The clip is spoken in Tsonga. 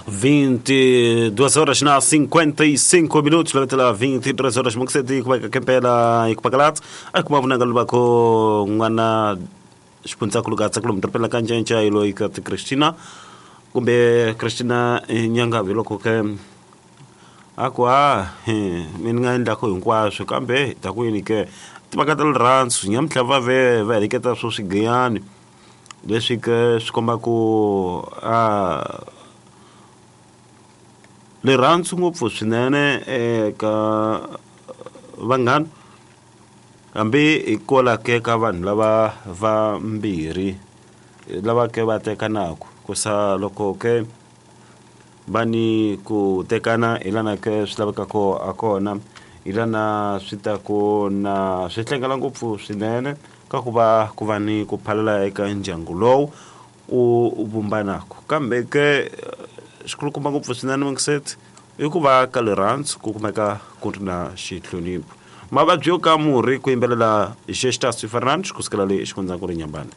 22 horas na 55 minutos, lavetela 23 horas mukuseti kubeka kempela ikupakalats akumavunanga lubako n'wana xifundzakulu ka tsakulu mudorobeni ka ncenca ilo ika ti Christina kumbe Christina Nyangavi loko ke a ku a mi ni nga endlaku hinkwaswo kambe ta ku yini ke timhaka ta rirhandzu nyamuntlha va ve va heleketa swo swigiyani leswi ke swi komba ku a rirhandzu ngopfu swinene eka vanghana hambi hikwalaho ke ka vanhu lava vambirhi lava ke va tekanaku kusa loko ke va ni ku tekana hi lana ke swi lavekaka a kona hi lana swi ta ku na swi hlengela ngopfu swinene ka ku va ku va ni ku phalala eka ndyangu lowu u vumbanaku kambe ke xikulukumba ngopfu swinene mingiseti i ku va ka rirhandzu ku kumeka ku ri na xihlonipho mavabyi yo ka murhi ku yimbelela Gestas Fernandes kusukela le xifundzankulu Nyambane.